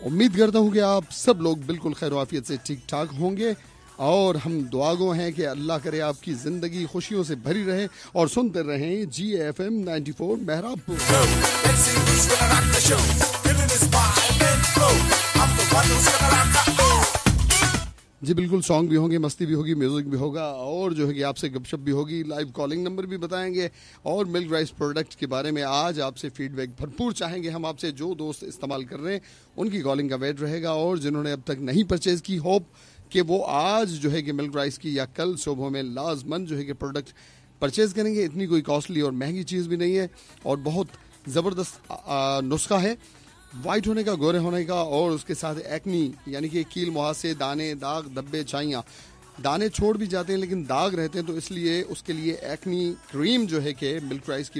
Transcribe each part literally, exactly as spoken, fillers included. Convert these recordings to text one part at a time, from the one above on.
उम्मीद करता हूँ कि आप सब लोग बिल्कुल खैर आफियत से ठीक ठाक होंगे और हम दुआगो हैं कि अल्लाह करे आपकी ज़िंदगी खुशियों से भरी रहे और सुनते रहें G F M ninety four Mehrabpur. जी बिल्कुल, सॉन्ग भी होंगे, मस्ती भी होगी, म्यूज़िक भी होगा और जो है कि आपसे गपशप भी होगी, लाइव कॉलिंग नंबर भी बताएंगे और मिल्क राइस प्रोडक्ट के बारे में आज आपसे फीडबैक भरपूर चाहेंगे हम आपसे। जो दोस्त इस्तेमाल कर रहे हैं उनकी कॉलिंग का वेट रहेगा और जिन्होंने अब तक नहीं परचेज़ की, होप कि वो आज जो है कि मिल्क राइस की या कल सुबह में लाजमन जो है कि प्रोडक्ट परचेज़ करेंगे। इतनी कोई कॉस्टली और महंगी चीज़ भी नहीं है और बहुत ज़बरदस्त नुस्खा है वाइट होने का, गोरे होने का और उसके साथ एक्नी यानी कि कील मुहासे, दाने, दाग, धब्बे, छाइयाँ। दाने छोड़ भी जाते हैं लेकिन दाग रहते हैं, तो इसलिए उसके लिए एक्नी क्रीम जो है कि मिल्क राइस की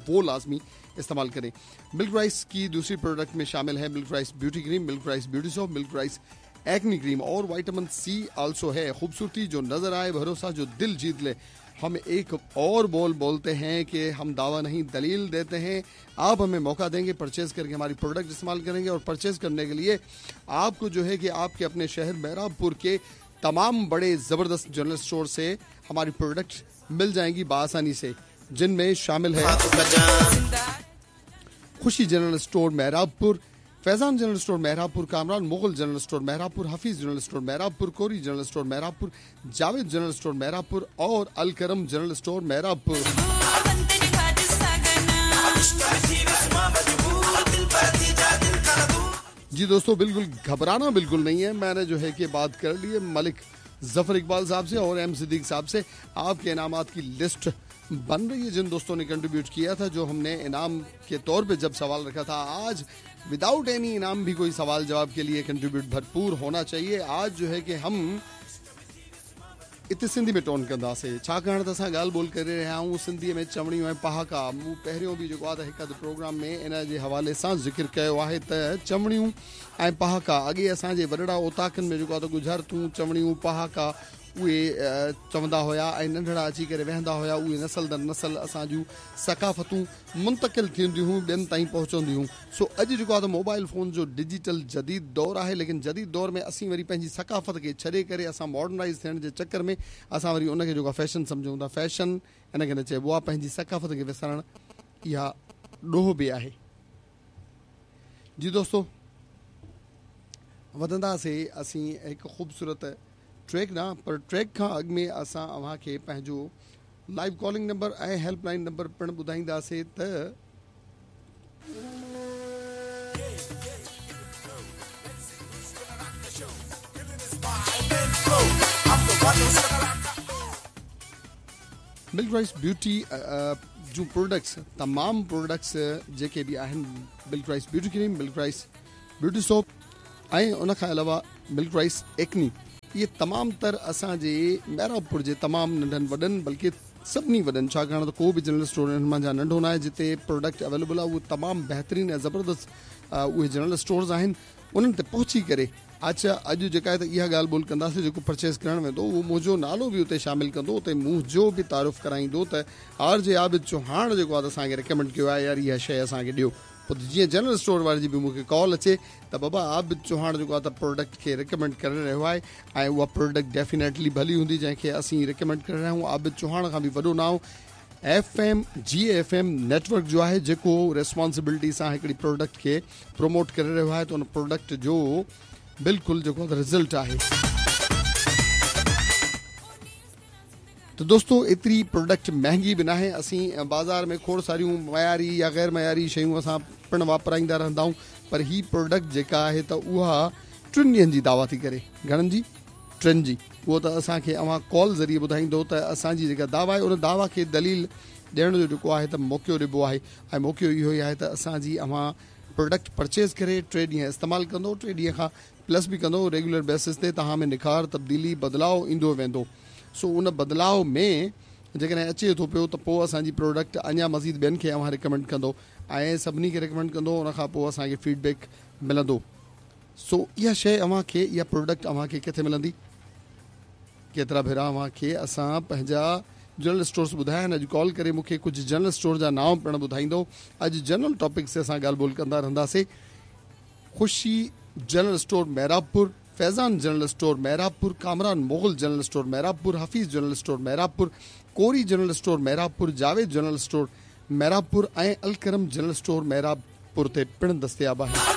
वो लाजमी इस्तेमाल करें। मिल्क राइस की दूसरी प्रोडक्ट में शामिल है milk rice beauty cream, milk rice beauty soap, milk rice acne cream और विटामिन सी आल्सो है। खूबसूरती जो नज़र आए, भरोसा जो दिल जीत ले। हम एक और बोल बोलते हैं कि हम दावा नहीं दलील देते हैं। आप हमें मौका देंगे, परचेज़ करके हमारी प्रोडक्ट इस्तेमाल करेंगे और परचेज़ करने के लिए आपको जो है कि आपके अपने शहर मेहराबपुर के तमाम बड़े ज़बरदस्त जनरल स्टोर से हमारी प्रोडक्ट मिल जाएंगी बआसानी से, जिनमें शामिल है Khushi general store Mehrabpur, Faizan general store Mehrabpur, Kamran Mughal general store Mehrabpur, Hafeez general store Mehrabpur, Kori general store Mehrabpur, Javed general store Mehrabpur और अलकरम जनरल स्टोर मेहराबपुर। जी दोस्तों, बिल्कुल घबराना बिल्कुल नहीं है। मैंने जो है कि बात कर ली है मलिक ज़फ़र इकबाल साहब से और एम सिद्दीक साहब से। आपके इनामात की लिस्ट बन रही है जिन दोस्तों ने कंट्रीब्यूट किया था, जो हमने इनाम के तौर पे जब सवाल रखा था। आज विदाउट एनी इनाम भी कोई सवाल जवाब के लिए कंट्रीब्यूट भरपूर होना चाहिए। आज जो है कि हम इते सिंधी में टोन कंदासीं, छाकाणि त असां ॻाल्हि ॿोल करे रहिया आहियूं सिंधीअ में चवणियूं ऐं पहाका। मूं पहिरियों बि जेको आहे त हिकु अधु प्रोग्राम में इन जे हवाले सां ज़िक्र कयो आहे त चवणियूं ऐं पहाका अॻे असांजे वॾड़ा ओताकनि में जेको आहे त गुजरतूं, चवणियूं, पहाका उहे चवंदा हुया ऐं नंढड़ा अची करे वेहंदा हुया। उहे नस्ल दर नस्ल असांजूं सकाफ़तूं मुंतकिल थींदियूं हुयूं, ॿियनि ताईं पहुचंदियूं हुयूं। सो अॼु जेको आहे त मोबाइल फ़ोन जो डिजिटल जदीद दौर आहे, लेकिन जदीद दौर में असीं वरी पंहिंजी सकाफ़त खे छॾे करे असां मॉडर्नाइज़ थियण जे चक्कर में असां वरी उनखे जेको आहे फैशन सम्झूं था। फैशन इन खे न चइबो आहे, पंहिंजी सकाफ़त खे विसारणु इहा ॾोह बि आहे। जी दोस्तो, वधंदासीं असीं हिकु ख़ूबसूरत ट्रैक ना, पर ट्रैक खां अॻु में असां अव्हां खे पंहिंजो लाइव कॉलिंग नंबर ऐं हेल्पलाइन नंबर पिणु ॿुधाईंदासीं त मिल्क राइस ब्यूटी जूं प्रोडक्ट्स, तमामु प्रोडक्ट्स जेके बि आहिनि, milk rice beauty cream, milk rice beauty soap ऐं उन खां अलावा मिल्क राइस एक्नी, इहे तमामु तर असांजे मेहराबपुर जे तमामु नंढनि वॾनि, बल्कि सभिनी वॾनि, छाकाणि त को बि जनरल स्टोर हिननि मां नंढो न आहे जिते प्रोडक्ट अवेलेबल आहे। उहो तमामु बहितरीन ऐं ज़बरदस्त उहे जनरल स्टोर्स आहिनि, उन्हनि ते पहुची करे अच्छा अॼु जेका आहे त इहा ॻाल्हि ॿोल कंदासीं। जेको परचेज़ करणु वेंदो उहो मुंहिंजो नालो बि उते शामिल कंदो, उते मुंहिंजो बि तारुफ़ कराईंदो त आर जे आबिद चौहान जेको आहे त असांखे रिकमेंड कयो आहे, यार इहा शइ असांखे ॾियो। पोइ जीअं जनरल स्टोर वारे जी बि मूंखे कॉल अचे त बाबा आबिद चौहान जेको आहे त प्रोडक्ट खे रिकमेंड करे रहियो आहे ऐं उहा प्रोडक्ट डेफिनेटली भली हूंदी जंहिंखे असीं रिकमेंड करे रहिया आहियूं। आबिद चौहान खां बि वॾो नांव F M G F M network जो आहे, जेको रिस्पॉन्सिबिलिटी सां हिकिड़ी प्रोडक्ट खे प्रोमोट करे रहियो आहे, त उन प्रोडक्ट जो बिल्कुलु जेको रिज़ल्ट आहे। त दोस्तो, एतिरी प्रोडक्ट महंगी बि नाहे। असीं बाज़ार में खोड़ सारियूं मयारी या ग़ैर मयारी शयूं असां पिणु वापराईंदा रहंदा आहियूं, पर ही प्रोडक्ट जेका आहे त उहा टिनि ॾींहनि जी दावा थी करे। घणनि जी? टिनि जी। उहो त असांखे अव्हां कॉल ज़रिए ॿुधाईंदो त असांजी जेका दावा आहे उन दावा खे दलील ॾियण जो जेको आहे त मौक़ो ॾिबो आहे ऐं मौक़ो इहो ई आहे त असांजी अव्हां प्रोडक्ट परचेज़ करे टे ॾींहं इस्तेमालु कंदो, टे ॾींहं खां प्लस बि कंदो, रेगुलर बेसिस ते तव्हां में निखार, तब्दीली, बदिलाव ईंदो वेंदो। सो उन बदिलाव में जेकॾहिं अचे थो पियो त पोइ असांजी प्रोडक्ट अञा मज़ीद ॿियनि खे अव्हां रिकमेंड कंदो ऐं सभिनी खे रिकमेंड कंदो, उन खां पोइ असांखे फीडबैक मिलंदो। सो इहा शइ अव्हांखे, इहा प्रोडक्ट अव्हांखे किथे मिलंदी? केतिरा भेरा अव्हांखे असां पंहिंजा जनरल स्टोर्स ॿुधाया आहिनि। अॼु कॉल करे मूंखे कुझु जनरल स्टोर जा नांव पिणु ॿुधाईंदो। अॼु जनरल टॉपिक ते असां ॻाल्हि ॿोल कंदा रहंदासीं। ख़ुशी General store Mehrabpur, Faizan general store Mehrabpur, Kamran Mughal general store Mehrabpur, Hafeez general store Mehrabpur, Kori general store Mehrabpur, Javed general store Mehrabpur ۽ Alkaram general store Mehrabpur تي پڻ دستياب آهن.